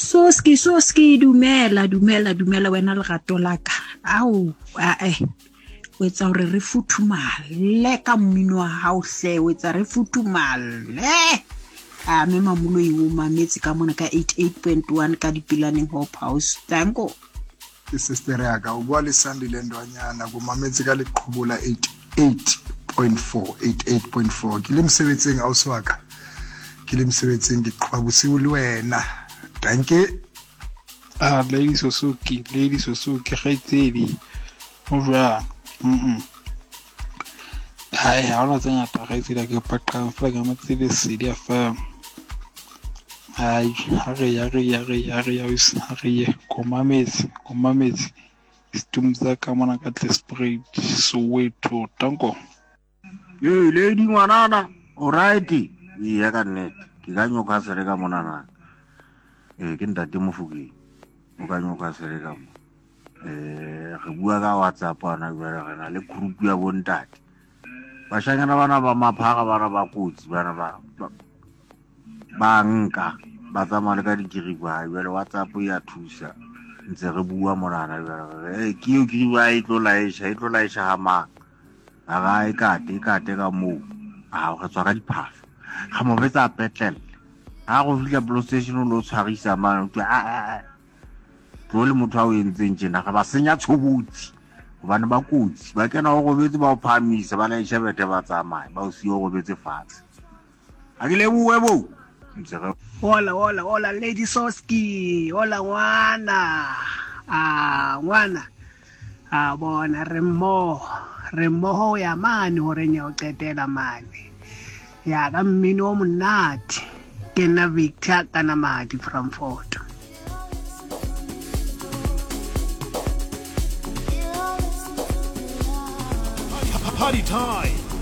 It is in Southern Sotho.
Soski, Soski, dumela, dumela, dumela wena lerato la ka. Ao, ae. O etsa hore re futhumale ka mmino wa hao hle, o etsa re futhumale. A me Mamoloi o mametse ka mona ka 88.1 ka Dipelaneng Hope House. Danko. Ke sister ya ka o bua le Sandile Ndwanyana ko mametse ka leqhubu la 88.4 88.4 ke le mosebetsing ausi wa ka ke le mosebetsing ke qhoba bosiu le wena danke. Ah, Lady Suzuki, Lady Suzuki, kgaitsedi, o jwang? Mm Hai, ha hona tse ngata kgaitsedi a ke paqang fela ke mametse Lesedi FM. Hai, ha re ya re ya re ya re ya ha re ye ko mametse, ko mametse. Setumu sa ka mona ka Tlespruit, Soweto, tanko. Ee, lady ngwanana, o right? Eya ka nnete, ke ka Newcastle ka monana. Ee, ke ntate Mofokeng, o ka Newcastle ka mo. Eh, re bua ka WhatsApp ana jwale re na le group ya bontate. Bashanyana bana ba maphara bana ba kotsi bana ba ba nka ba tsamaya le ka dikiriba jwale WhatsApp ya thusa ntse re bua monana jwale ke eo kiriba e tlo laesha e tlo laesha ga mang a ga e kate e kate ka moo a re tswa ka diphahlo ga mo betsa petlele ga go fitlha police station o lo tshwarisa mane o a tlo le motho a o entseng tjena re ba senya tshobotsi gobane ba kotsi ba kena o robetse ba o phahamisa ba laesha bethe ba tsamaye ba o siye o robetse fatshe a ke leboe bo ntse re Hola, hola, hola, Lady Soski. Hola, ngwana. Ah, ngwana. A bona, re mmoho. Re mmoho ho ya mane horeng ya ho qetela mane. Ya ka mmino o monate. Ke nna Victor Kanamadi from Fort. Party time.